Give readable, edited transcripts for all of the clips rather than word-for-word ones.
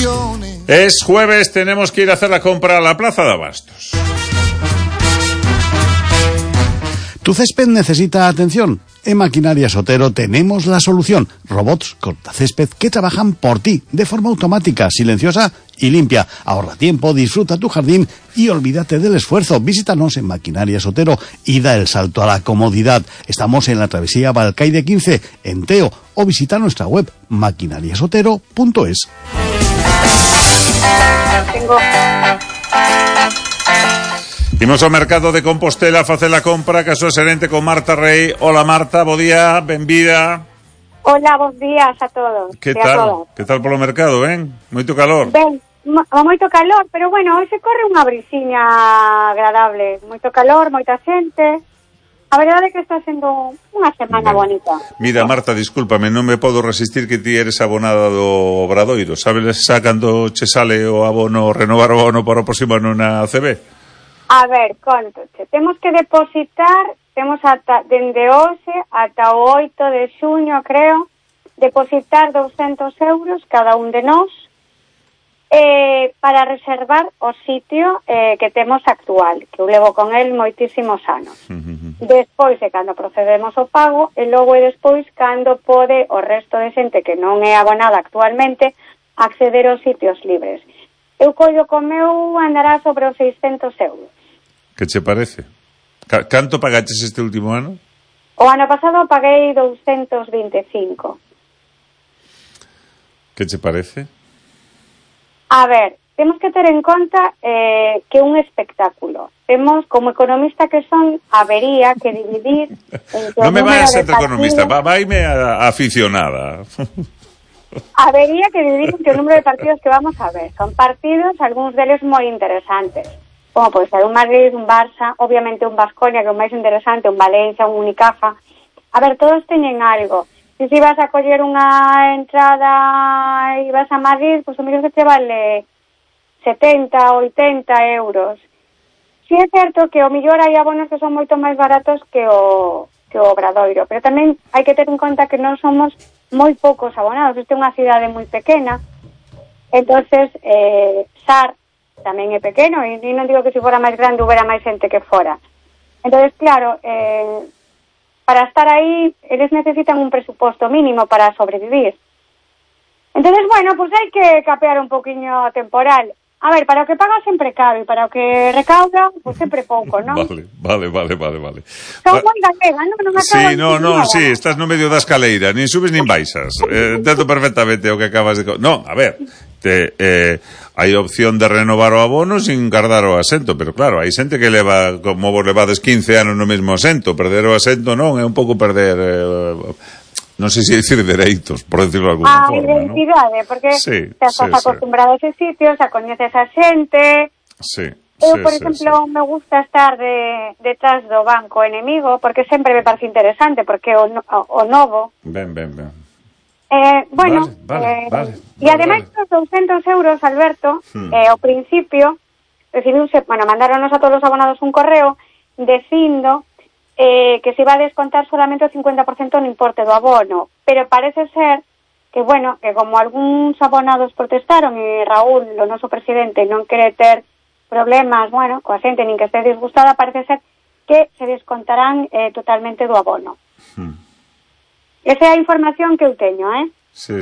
ilusiones. Es jueves, tenemos que ir a hacer la compra a la Plaza de Abastos. ¿Tu césped necesita atención? En Maquinarias Otero tenemos la solución. Robots cortacésped que trabajan por ti, de forma automática, silenciosa y limpia. Ahorra tiempo, disfruta tu jardín y olvídate del esfuerzo. Visítanos en Maquinarias Otero y da el salto a la comodidad. Estamos en la travesía Balcaide 15, en Teo, o visita nuestra web maquinariasotero.es. Imos ao mercado de Compostela a facer a compra, que a súa xerente con Marta Rey. Hola Marta, bo día, benvida. Hola, bons días a todos. Que tal? Que tal polo mercado, ben? Moito calor? Ben, moito calor, pero bueno, hoy se corre unha brisiña agradable. Moito calor, moita xente. A verdade é que está sendo unha semana bonita. Mira, Marta, discúlpame, non me podo resistir que ti eres abonada do Obradoiro. Sabes xa cando che sale o abono, renovar o abono para o próximo ano na CB? A ver, contoche. Temos que depositar, temos ata dende hoxe ata o 8 de xuño, creo, depositar 200 euros cada un de nós para reservar o sitio que temos actual, que eu levo con el moitísimos anos. Despois de cando procedemos ao pago, e logo e despois cando pode o resto de xente que non é abonada actualmente acceder aos sitios libres. Eu collo co meu andará sobre os 600 euros. Que che parece? Canto pagaches este último ano? O ano pasado paguei 225. Que che parece? A ver, temos que ter en conta que é un espectáculo. Temos, como economista que son, habería que dividir... Non me vai a ser economista, vaime a aficionada. Habería que dividir entre o número de partidos que vamos a ver. Son partidos, algúns deles moi interesantes. Como pode ser un Madrid, un Barça, obviamente un Baskonia, que é o máis interesante, un Valencia, un Unicaja. A ver, todos teñen algo. Se vas a coller unha entrada e vas a Madrid, pois o mellor que te vale 70, 80 euros. Si é certo que o mellor hai abonos que son moito máis baratos que o Obradoiro, pero tamén hai que ter en conta que non somos moi poucos abonados. Esta é unha cidade moi pequena, entonces Sar tamén é pequeno, e non digo que se fora máis grande houbera máis xente que fora. Entonces, claro, para estar aí, eles necesitan un presuposto mínimo para sobrevivir. Entonces, bueno, pues hai que capear un poquinho temporal. A ver, para o que paga sempre cabe, para o que recauda, pues sempre pouco, non? Vale. Son moi galega, non? Sí, estás no medio da escaleira, nin subes nin baixas. Entendo perfectamente o que acabas de... Non, a ver, hai opción de renovar o abono sin guardar o asento, pero claro, hai xente que leva, como vos levades 15 anos no mesmo asento, perder o asento non, é un pouco perder... non sei se dicir dereitos, por decirlo de alguna forma, identidade, ¿no? Porque estás acostumbrado a ese sitio, xa coñeces a xente. Eu, por exemplo, me gusta estar detrás do banco enemigo, porque sempre me parece interesante, porque o novo. Ben. Bueno, vale. E ademais dos 200 euros, Alberto, ao principio, mandaronos a todos os abonados un correo dicindo que se iba a descontar solamente o 50% no importe do abono, pero parece ser que, bueno, que como algúns abonados protestaron e Raúl, o noso presidente, non quere ter problemas, bueno, coa xente nin que este disgustada, parece ser que se descontarán totalmente do abono. Esa é a información que eu teño, Sí.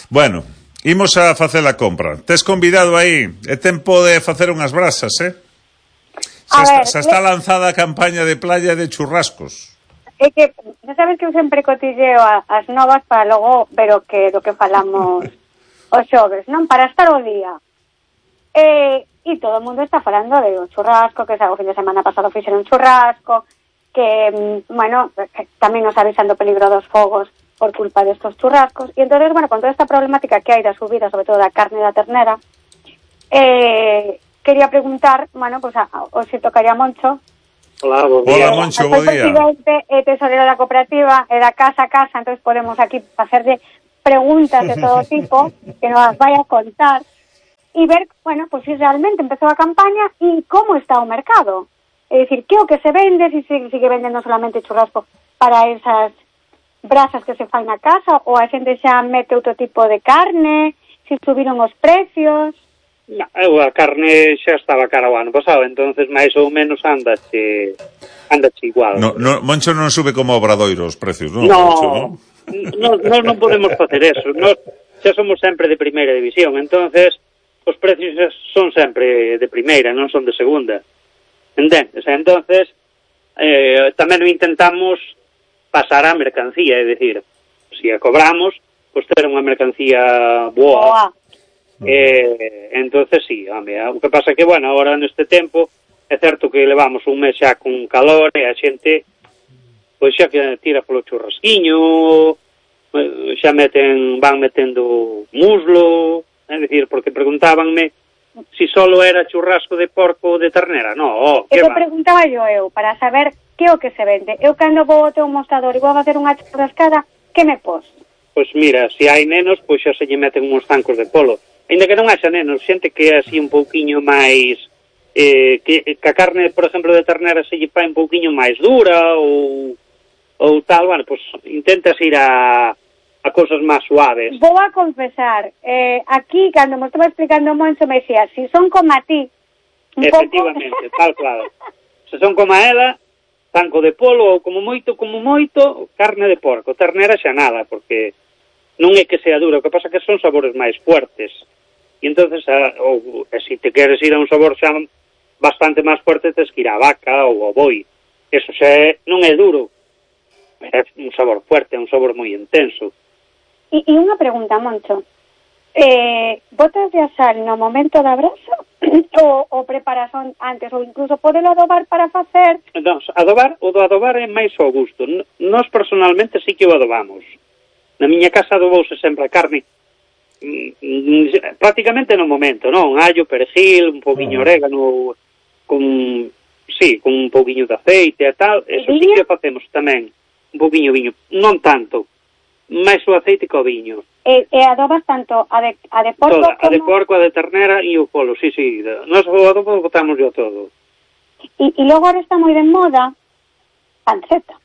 Bueno, imos a facer a compra. Tes convidado aí, é tempo de facer unhas brasas, Xa está lanzada a campaña de playa de churrascos. É que, xa sabes que eu sempre cotilleo as novas para logo ver do que falamos os xoves, non? Para estar o día. E todo o mundo está falando de o churrasco, que o fin de semana pasado fixeron un churrasco, que, bueno, tamén nos avisan do peligro dos fogos por culpa destos churrascos. E entonces, bueno, con toda esta problemática que hai da subida, sobre todo da carne da ternera, quería preguntar, bueno, pues hoxe tocaría Moncho. Hola, bo día. Hola, Moncho, bo día. Presidente e tesorero da cooperativa e da casa a casa, entonces podemos aquí facerle preguntas de todo tipo que nos vai a contar e ver, bueno, pues si realmente empezou a campaña e como está o mercado. É dicir, que o que se vende, si sigue vendendo solamente churrasco para esas brasas que se fai na casa ou a xente xa mete outro tipo de carne, se subiron os precios? No, a carne xa estaba cara o ano pasado, entonces máis ou menos andache igual. Moncho non sube como Obradoiro os precios, non? Nós non podemos facer eso. Nós xa somos sempre de primeira división, entonces os precios son sempre de primeira, non son de segunda. Entendes? Entonces tamén o intentamos pasar a mercancía, é dicir, se a cobramos, pois ter unha mercancía boa. Entonces sí, o que pasa que, bueno, agora neste tempo é certo que levamos un mes xa con calor e a xente pois xa que tira polo churrasquiño, xa van metendo muslo, é dicir, porque preguntábanme si solo era churrasco de porco ou de ternera. No, que va. Preguntaba eu para saber que o que se vende. Eu cando vou ao teu mostrador e vou a facer unha churrascada, que me pos? Pois mira, se hai nenos, pois xa se lle meten uns zancos de polo. Ainda que non haxa nenos, xente que é así un pouquiño máis que a carne, por exemplo, de ternera se lle fai un pouquiño máis dura ou tal, bueno, pois intentas ir a cosas máis suaves. Vou a confesar, aquí, cando me estaba explicando Moncho, me decía, si son como a ti, efectivamente, tal claro. Se son como a ela, zanco de polo ou como moito, carne de porco. Ternera xa nada, porque non é que sea dura, o que pasa que son sabores máis fuertes. E entonces, se te queres ir a un sabor xa bastante máis fuerte, tens que ir a vaca ou ao boi. Eso xa non é duro, é un sabor fuerte, é un sabor moi intenso. E unha pregunta, Moncho. Botas de sal no momento da brasa ou preparas antes, ou incluso podelo adobar para facer? Non, o do adobar é máis ao gusto. Nós personalmente sí que o adobamos. Na miña casa adobouse sempre a carne prácticamente no momento, non? Allo, perejil, un pouquiño orégano, con un pouquiño de aceite e tal. Eso sí que facemos tamén. Un pouquiño viño, non tanto. Máis o aceite que o viño. E adobas tanto a de porco toda, como... A de porco, a de ternera e o polo, sí. Nós o adobo botamos yo todo. E logo ahora está moi de moda panceta.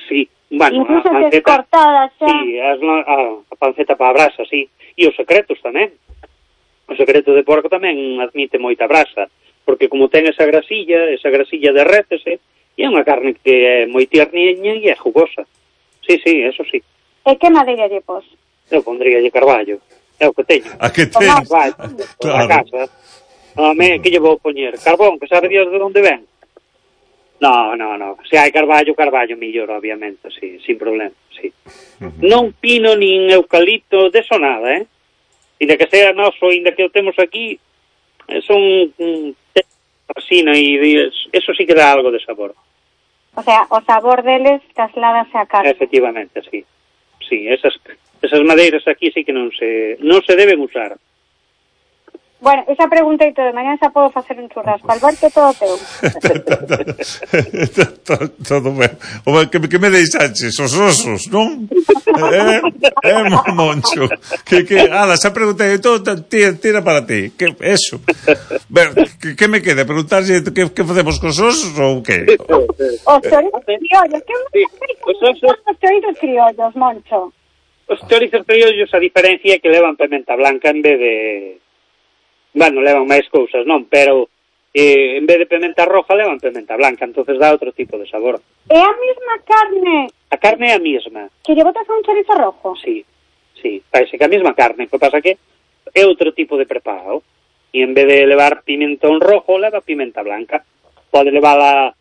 Sí, bueno, incluso a panceta cortada xa. Sí, a panceta para a brasa, sí. E os secretos tamén. O secreto de porco tamén admite moita brasa, porque como ten esa grasilla derrétese, e é unha carne que é moi tierniña e é jugosa. Sí, eso sí. E que madeira lle pos? Eu pondríalle carballo. É o que teño. A que ten? Carballo, claro. A casa. Que lle vou poñer? Carbón, que sabe Dios de onde ven? No. Se hai carballo millor, obviamente, sí, sin problema, sí. Non pino nin eucalipto, deso nada, Inda que sea noso, inda que o temos aquí, son resina e eso sí que dá algo de sabor. O sea, o sabor deles trasládase a carne. Efectivamente, sí. Sí, esas madeiras aquí sí que non se deben usar. Bueno, esa pregunta e todo, mañana xa podo facer un churrasco. Alberto, todo teu. Todo ben. Que me deixaches os osos, non? Moncho. Xa preguntei, todo tira para ti. Eso. Que me queda? Preguntarse que facemos cos osos ou que? Os chorizos criollos. Os chorizos criollos, Moncho. Os chorizos criollos, a diferencia é que levan pimenta blanca en vez de... Bueno, levan máis cousas, non? Pero en vez de pimenta roja levan pimenta blanca, entonces dá outro tipo de sabor. É a mesma carne? A carne é a mesma. Que lle botas a un chorizo rojo? Sí, parece que a mesma carne, o que pasa que é outro tipo de preparo. E en vez de levar pimentón rojo, leva pimenta blanca. Pode levala...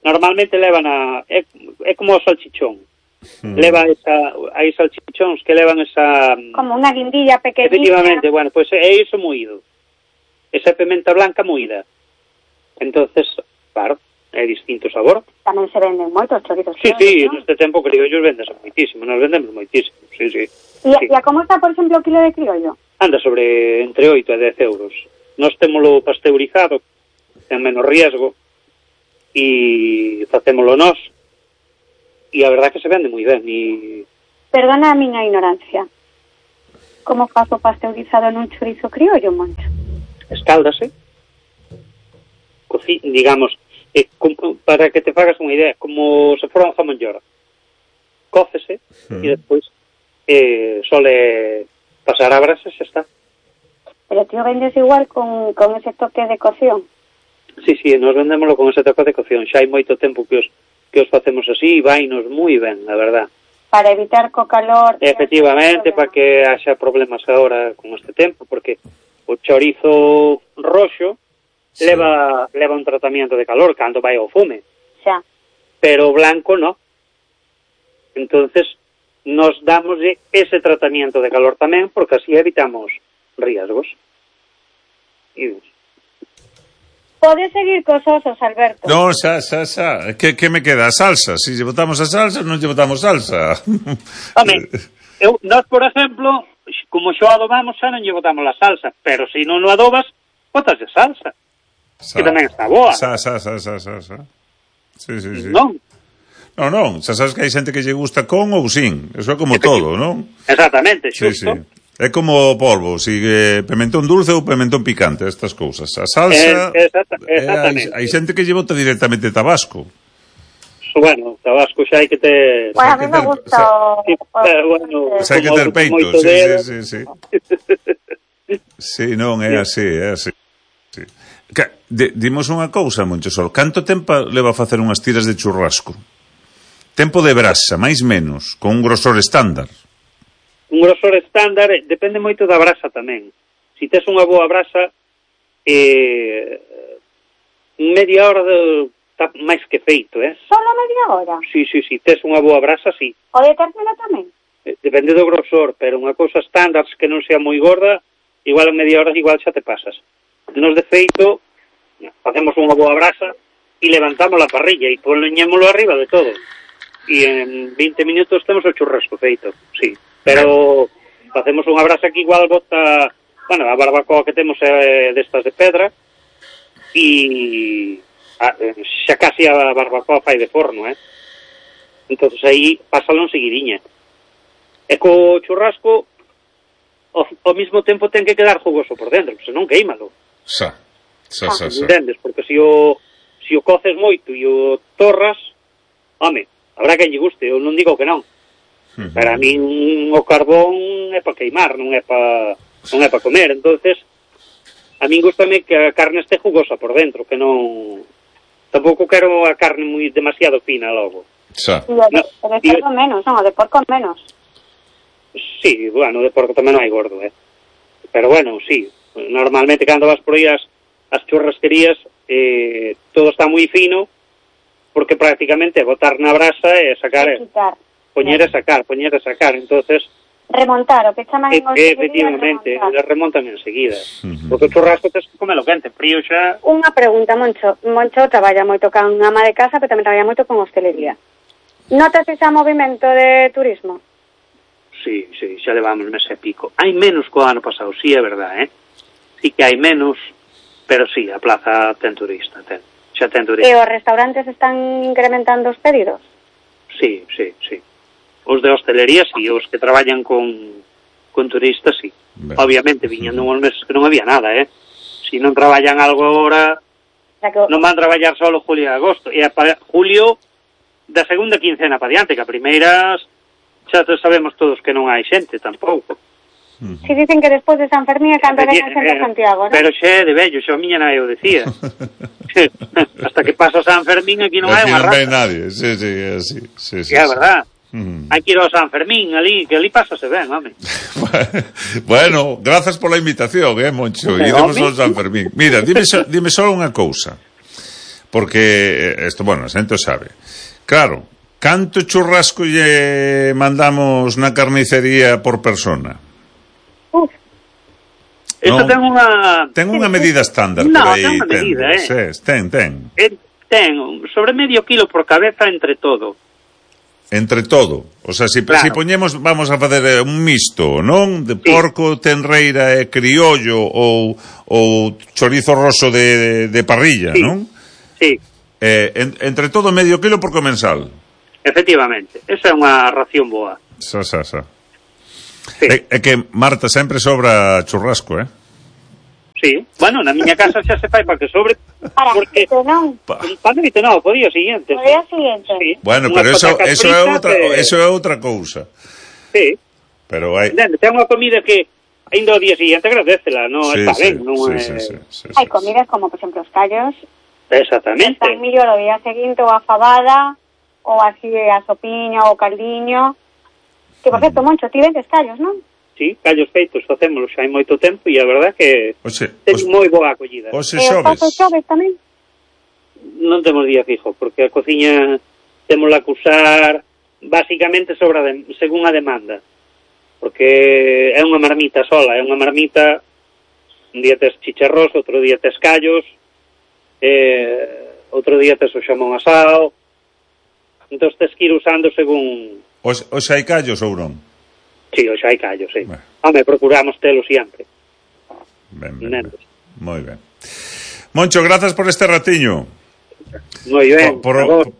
Normalmente levan é como o salchichón. Leva hai salchichóns que levan esa... Como unha guindilla pequeñita. Efectivamente, bueno, pois é iso moído. Esa pimenta blanca moída. Entonces, claro, é distinto sabor. Tamén se venden moitos chorizos. Sí, ¿no? Neste tempo criollos vendese moitísimo, nos vendemos moitísimo, sí. E a como está, por exemplo, o kilo de criollo? Anda sobre entre 8 e 10 euros. Nós témolo pasteurizado, ten menos riesgo, e facémolo nós, e a verdad que se vende moi ben. Perdona a miña ignorancia. Como fazo pasteurizado nun chorizo criollo, Moncho? Escáldase, digamos, para que te fagas unha idea, como se fora un jamón york. cócese e despois sole pasar a brasa e xa está. Pero tío vendes igual con ese toque de cocción. Sí, nos vendémoslo con ese toque de cocción. Xa hai moito tempo que os facemos así e vainos moi ben, a verdad. Para evitar co calor... Efectivamente, para que haxa problemas agora con este tempo, porque o chorizo roxo leva un tratamiento de calor cando vai ao fume. Xa. Pero o blanco no. Entonces, nos damos ese tratamiento de calor tamén, porque así evitamos riesgos. Podes seguir cos osos, Alberto. No, xa. Que me queda? A salsa. Si lle botamos a salsa, non lle botamos salsa. Home, nós, por exemplo, como xo adobamos, xa non lle botamos a salsa, pero se non o adobas, botas de salsa. Que tamén está boa. Sa. Sí. Non? Non, xa sabes que hai xente que lle gusta con ou sin. Eso é como todo, non? Exactamente, xusto. Sí. É como polvo, sigue pimentón dulce ou pimentón picante, estas cousas. A salsa... Exactamente. Hai xente que lle bota directamente tabasco. Bueno, tabasco xa hai que ter... Bueno, a mí me gusta bueno, xa hai que ter peito, sí. Sí, non, é así. Sí. Dimos unha cousa, Monchesol. Canto tempo leva a facer unhas tiras de churrasco? Tempo de brasa, máis menos, con un grosor estándar. Un grosor estándar depende moito da brasa tamén. Si tes unha boa brasa, media hora está máis que feito, Solo media hora? Sí, tes unha boa brasa, sí. O de término tamén? Depende do grosor, pero unha cousa estándar que non sea moi gorda, igual en media hora igual xa te pasas. Nos de feito, facemos unha boa brasa e levantamos a parrilla e poñémolo arriba de todo. E en 20 minutos temos o churrasco feito, sí. Pero facemos unha brasa que igual bota, bueno, a barbacoa que temos é destas de pedra e xa casi a barbacoa fai de forno, entonces aí pásalo en seguidiña. E co churrasco ao mesmo tempo ten que quedar jugoso por dentro, senón queímalo. Xa. Entendes? Porque se o coces moito e o torras, home, habrá que lle guste, eu non digo que non. Para mí o carbón é para queimar, non é para comer. Entonces, a min gustame que a carne este jugosa por dentro, que non... Tampouco quero a carne moi demasiado fina logo. Xa. E o de cerdo menos, non, o de porco menos. Sí, bueno, de porco tamén non hai gordo, Pero bueno, sí, normalmente cando vas por aí as churrasquerías, todo está moi fino, porque prácticamente botar na brasa e sacar... Poñer e sacar, entonces... Remontar, o que chaman en efectivamente, remontan enseguida. Porque o churrasco tens que comelo quente, frío xa... Unha pregunta, Moncho traballa moito con ama de casa, pero tamén traballa moito con hostelería. Notas ese movimento de turismo? Sí, xa levamos mes e pico. Hai menos co ano pasado, sí, é verdad, Sí que hai menos, pero sí, a plaza ten turista, xa ten turista. E os restaurantes están incrementando os pedidos? Sí. Os de hostelería, sí, os que traballan con turistas, sí. Ben. Obviamente, viñendo uns meses que non había nada, Si non traballan algo agora, non van traballar solo julio e agosto. E para julio, da segunda quincena para diante, que a primeiras xa sabemos todos que non hai xente, tampouco. Si dicen que despois de San Fermín é cando ven a xente a Santiago, non? Pero xe de vello, xa a miña nai o decía. Hasta que pasa San Fermín aquí non hai unha raza. Aquí non hai nadie, sí, é así. Sí, é verdad. Hai que ir ao San Fermín, ali, que ali pásase ben, home. Bueno, grazas pola invitación, Moncho. Iremos ao San Fermín. Mira, dime só unha cousa. Porque, isto, bueno, a xente o sabe. Claro, canto churrasco lle mandamos na carnicería por persona? Isto ten unha medida estándar por aí. Non, ten unha medida, Ten. Ten sobre medio kilo por cabeza entre todo. Entre todo, o sea, si poñemos, vamos a facer un misto, non? De porco, tenreira e criollo ou chorizo roso de parrilla, non? Sí. Entre todo medio kilo por comensal. Efectivamente, esa é unha ración boa. Xa. Sí. É que, Marta, sempre sobra churrasco, Sí, bueno, na miña casa xa se fai para que sobre. Para porque que non. para que non, po día seguinte. O día seguinte. Sí. Bueno, Unha pero patacas eso fritas, é outra cousa. Sí. Pero hai... Ten unha comida que ainda o día seguinte agradecela, non está ben, non é... Hai comidas como, por exemplo, os callos. Exactamente. Están mellor o día seguinte ou a fabada, ou así a sopiña ou caldiño. Que, por certo, Moncho, ti vendes callos, non? Sí, callos feitos facémoslo xa hai moito tempo e a verdad que ten moi boa acollida. Os xoves tamén? Non temos día fijo, porque a cociña témola que usar basicamente según a demanda. Porque é unha marmita sola, é unha marmita, un día tes chicharrós, outro día tes callos, outro día tes o xamón asado, entón tes que ir usando según... Os hai callos ou non? Sí, hoxe hai callos, sí. Bueno. Home, procuramos telo sempre. Ben. Moi ben. Moncho, grazas por este ratiño. Moi ben.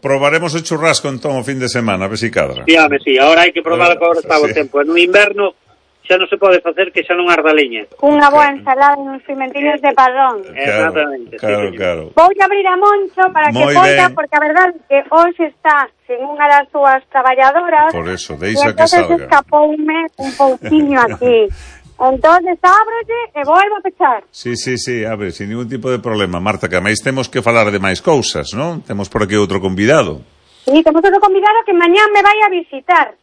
Probaremos o churrasco entón o fin de semana, a ver si cadra. Sí, home, sí. Ahora hai que probar que agora está o tempo. No inverno xa non se pode facer que xa non arda leña. Unha boa ensalada e uns pimentillos de padrón. Exactamente. Claro. Vou abrir a Moncho para que poida, porque a verdade é que hoxe está sin unha das súas traballadoras. Por eso, deixa que salga. E escapoume un pouquiño aquí. Entonces ábrese e volvo a pechar. Sí, abre, sin ningún tipo de problema, Marta, que máis temos que falar de máis cousas, non? Temos por aquí outro convidado. Sí, temos outro convidado que mañán me vai a visitar.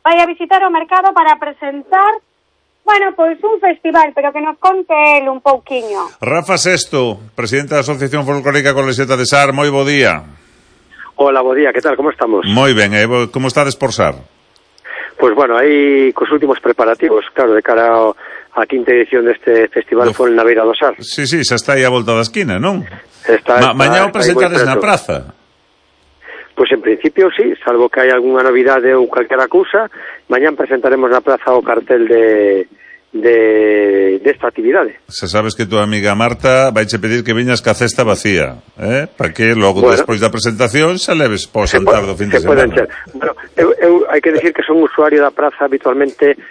Vai a visitar o mercado para presentar, bueno, pois un festival, pero que nos conte el un pouquiño. Rafa Sesto, presidente da Asociación Folclórica Colesiata de Sar, moi bo día. Hola, bo día, que tal, como estamos? Moi ben, como estades por Sar? Pois bueno, aí cos últimos preparativos, claro, de cara á quinta edición deste festival foi na Beira do Sar. Sí, xa está aí a volta da esquina, non? Mañá o presentades na praza. Pois en principio sí, salvo que hai algunha novidade ou calquera cousa, mañán presentaremos na praza o cartel desta actividade. Se sabes que tua amiga Marta vaiche pedir que veñas ca cesta vacía, para que logo despois da presentación xa leves po xantar do fin de semana. Bueno, eu hai que decir que son usuario da praza habitualmente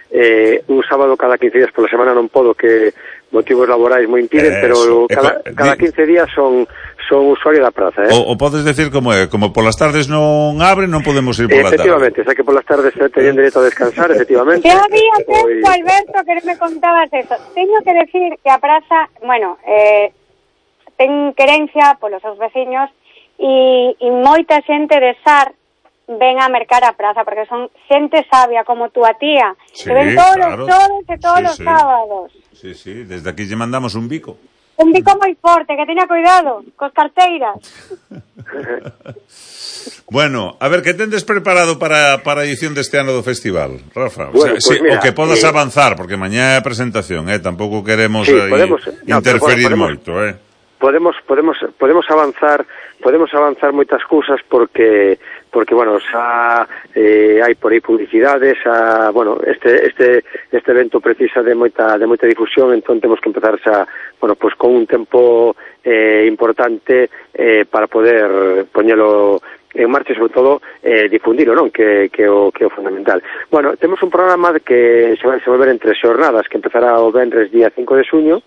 un sábado cada 15 días pola semana, non podo, que motivos laborais moi impiden, pero cada 15 días son usuario da praza, O podes decir como é, como polas tardes non abre, non podemos ir pola tarde. Efectivamente, xa que polas tardes teñen dereito a descansar, efectivamente. Que había tempo, Alberto, que me contabas eso. Teño que decir que a praza, bueno, ten querencia polos seus veciños e moita xente de Sar ven a mercar a praza, porque son xente sabia como túa tía, que ven todos os xoves e todos os sábados. Sí, desde aquí lle mandamos un bico. Un bico moi forte, que teña cuidado cos carteiras. Bueno, a ver, que tendes preparado para a edición deste ano do festival, Rafa? Bueno, pues mira, o que podas avanzar, porque mañá é a presentación, tampouco queremos interferir moito, Podemos avanzar moitas cousas porque bueno, xa hai por aí publicidades, bueno, este evento precisa de moita difusión, entón temos que empezar xa, bueno, pues con un tempo importante para poder poñelo en marcha e sobre todo difundilo, non? Que o fundamental. Bueno, temos un programa que se vai desenvolver en 3 xornadas, que empezará o venres día 5 de xuño,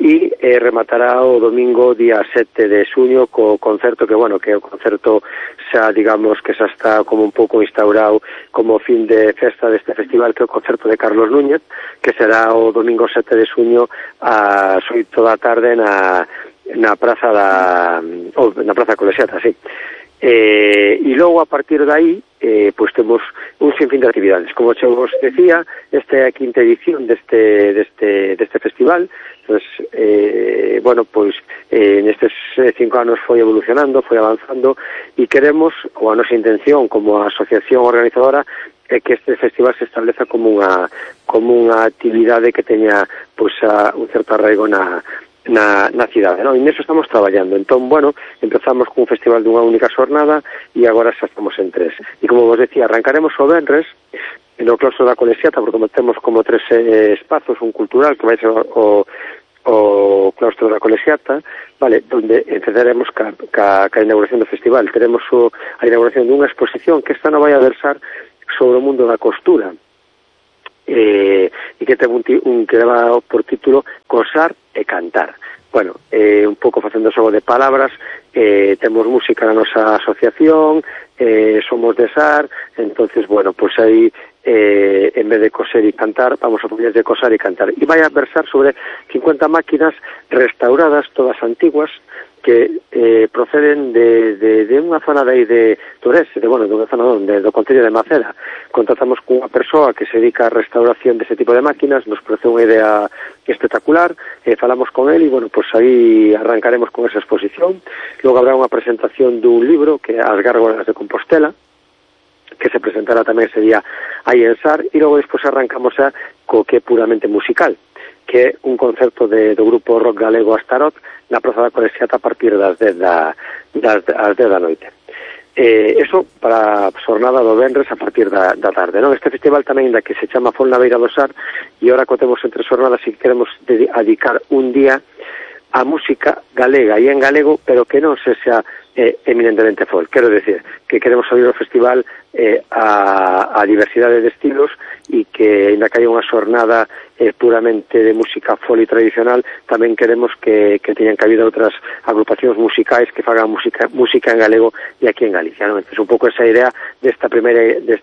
e rematará o domingo día 7 de xuño co concerto que, bueno, que o concerto xa, digamos, que xa está como un pouco instaurado como fin de festa deste festival, que é o concerto de Carlos Núñez, que será o domingo 7 de xuño ás 8 da tarde na praza na praza Colesiata, sí. E logo a partir de aí pois temos un sinfín de actividades. Como xa vos decía, esta é a quinta edición deste festival. Pues, bueno, pois nestes 5 anos foi evolucionando, foi avanzando e queremos, ou a nosa intención como asociación organizadora, é que este festival se estableza como unha actividade que teña pois un certo arraigo na cidade, non? E neso estamos traballando. Entón, bueno, empezamos cun festival dunha única xornada e agora xa estamos en 3. E como vos decía, arrancaremos o venres no claustro da Colesiata, porque temos como 3 espazos, un cultural que vai ser o claustro da Colesiata, vale, donde empezaremos ca inauguración do festival. Teremos a inauguración dunha exposición que esta non vai a versar sobre o mundo da costura, e e que ten que leva por título Cosar e Cantar. Bueno, un pouco facendo xogo de palabras, temos música na nosa asociación, somos de SAR, entonces, bueno, pues aí, en vez de coser e cantar, vamos a poner de cosar e cantar. E vai a versar sobre 50 máquinas restauradas, todas antiguas, que proceden de unha zona de aí de Torres, de unha zona do Concello de Maceda. Contratamos con unha persoa que se dedica a restauración dese tipo de máquinas, nos parece unha idea espectacular, falamos con él e, bueno, pues aí arrancaremos con esa exposición. Logo habrá unha presentación dun libro que é As Gárgolas de Compostela, que se presentará tamén ese día aí en SAR, e logo despois arrancamos co que é puramente musical, que é un concerto do grupo rock galego Astarot na Praza da Colexiata a partir das 10 da noite. Eso para a xornada do venres a partir da tarde, non? Este festival tamén da que se chama Fol na Beira do Sar, e ahora que temos entre xornadas e queremos dedicar un día a música galega e en galego, pero que non se xa eminentemente folk. Quero decir que queremos abrir o festival a diversidade de estilos e que, ainda que haya unha xornada puramente de música folk e tradicional, tamén queremos que teñan cabido outras agrupacións musicais que fagan música en galego e aquí en Galicia, non? Entón, un pouco esa idea deste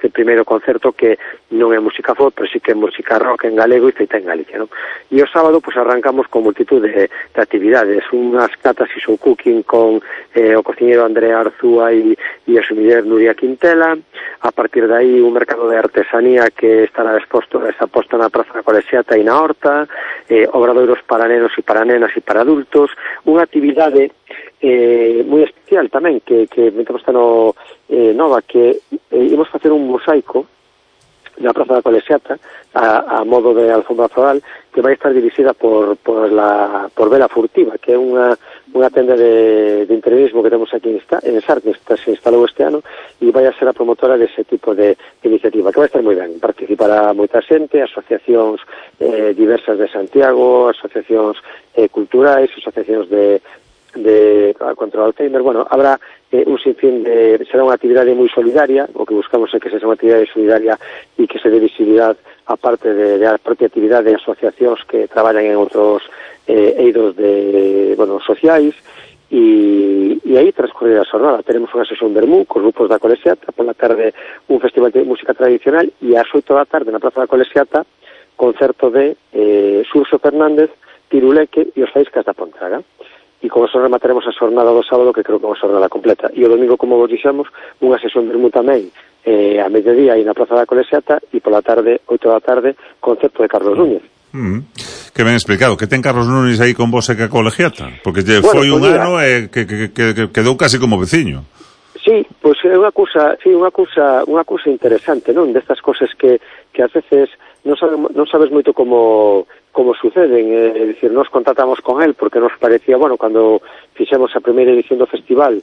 primeiro concerto, que non é música folk, pero sí que é música rock en galego e feita en Galicia, non? E o sábado, pues, arrancamos con multitud de actividades, unhas catas e show cooking con o cociñeiro Andrea Arzúa e a súa muller Nuria Quintela. A partir de aí, un mercado de artesanía que estará exposto na Praza da Colexiata e na Horta, obradoiros para nenos e para nenas e para adultos, unha actividade moi especial tamén que metemos nova, que imos facer un mosaico na Praza da Colexiata a modo de alfombra floral, que vai estar dirixida por Vela Furtiva, que é unha tenda de interiorismo que temos aquí en SAR, que se instalou este ano, e vai a ser a promotora dese tipo de iniciativa, que vai estar moi ben. Participará moita xente, asociacións diversas de Santiago, asociacións culturais, asociacións de contra o Alzheimer. Bueno, habrá un sinfín será unha actividade moi solidaria. O que buscamos é que sexa unha actividade solidaria e que se dé visibilidade a parte da propia actividade de asociacións que traballan en outros eidos sociais, e aí transcorrer a xornada. Teremos unha sesión vermú cos grupos da Colexiata, pola tarde un festival de música tradicional, e ás 8 da tarde na Praza da Colexiata concerto de Xurxo Fernández, Tiruleque e os Faíscas da Pontraga. E con eso remataremos a xornada do sábado, que creo que é unha xornada completa. E o domingo, como vos dixemos, unha sesión vermú tamén a mediodía aí na Praza da Colexiata, e pola tarde, 8 da tarde, concerto de Carlos Núñez. Que ben explicado. Que ten Carlos Núñez aí con vos e que a Colegiata? Porque foi un ano que quedou casi como veciño. Sí, pois é unha cousa interesante, non? Destas cosas que ás veces non sabes moito como suceden. É dicir, nos contactamos con él porque nos parecía, cando fixemos a primeira edición do festival,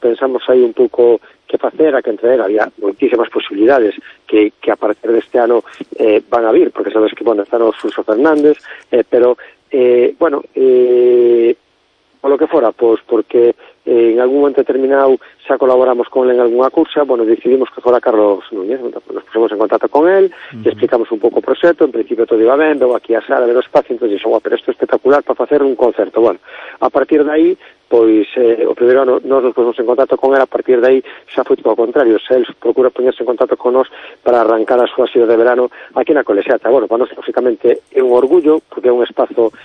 pensamos aí un pouco que facer, a que entregar. Había moitísimas posibilidades que a partir deste ano van a vir, porque sabes que, están os Xurxo Fernández, pero, polo que fora, pois, porque en algún momento determinado xa colaboramos con él en algunha cousa, decidimos que fora Carlos Núñez. Nos pusimos en contacto con él, e explicamos un pouco o proxecto. En principio todo iba ben, veo aquí a sala, veo o espacio, entón dixo, pero isto é espectacular para facer un concerto. A partir de aí, pois, o primeiro ano nos pusimos en contacto con él, a partir de aí xa foi todo o contrario, xa él procura poñerse en contacto con nos para arrancar a súa xira de verano aquí na Colexiata. Para nós, lógicamente, é un orgullo, porque é un espazo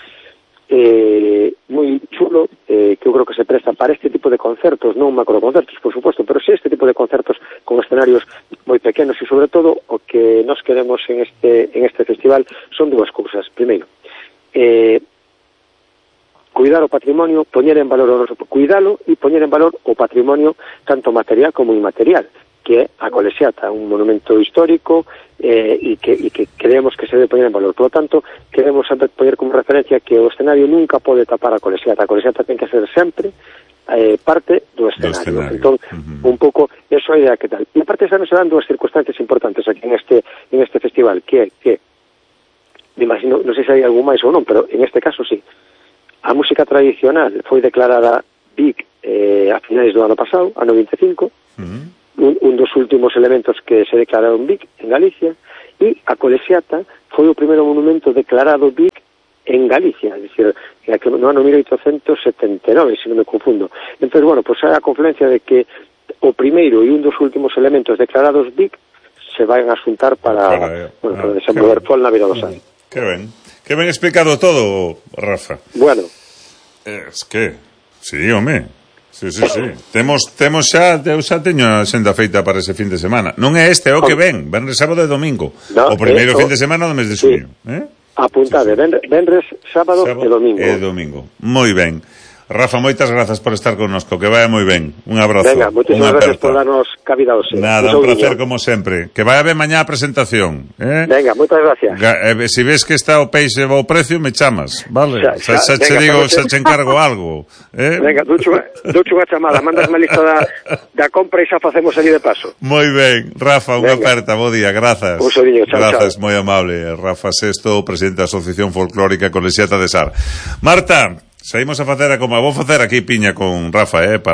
moi chulo, que eu creo que se presta para este tipo de concertos, non macroconcertos, por suposto, pero sí este tipo de concertos con escenarios moi pequenos. E sobre todo o que nos queremos en este festival son dúas cousas. Primeiro, cuidar o patrimonio, poñer en valor cuidalo e poñer en valor o patrimonio tanto material como inmaterial, que é a Colexiata, un monumento histórico, e que creemos que se debe poñer en valor. Por lo tanto, queremos sempre poñer como referencia que o escenario nunca pode tapar a Colexiata. A Colexiata ten que ser sempre parte do escenario. Entón, un pouco, eso é a idea que tal. E aparte, se dan dúas circunstancias importantes aquí en este festival, que me imagino, non sei se hai algún máis ou non, pero en este caso sí. A música tradicional foi declarada BIC a finais do ano pasado, ano 25, un dos últimos elementos que se declararon BIC en Galicia, e a colexiata foi o primeiro monumento declarado BIC en Galicia, es decir, no ano 1879, se non me confundo. Entón, bueno, pues hai a confluencia de que o primeiro e un dos últimos elementos declarados BIC se van a xuntar para desenvolver Pol na Vila do Sal. Que ben explicado todo, Rafa. Bueno. Es que, sí, home. Sí. Temos xa, eu xa teño a xenda feita para ese fin de semana. Non é este, é o que ven, venres, sábado e domingo. O primeiro fin de semana do mes de xuño. Apuntade, venres, sábado e domingo. Moi ben. Rafa, moitas grazas por estar connosco, que vaya moi ben. Un abrazo. Venga, moitísimas gracias por darnos cabida hoxe. Nada, un placer como sempre. Que vaya ben mañá a presentación. Venga, moitas gracias. Si ves que está o peixe ao precio, me chamas, vale? Xa che digo, xa che encargo algo. Venga, ducho unha chamada, mandas má lista da compra e xa facemos ali de paso. Moi ben, Rafa, unha aperta, bo día, grazas. Un soriño, chao. Grazas, moi amable. Rafa Sesto, presidente da Asociación Folclórica Colexiata de Sar. Marta, saímos a facer como vou facer aquí piña con Rafa, para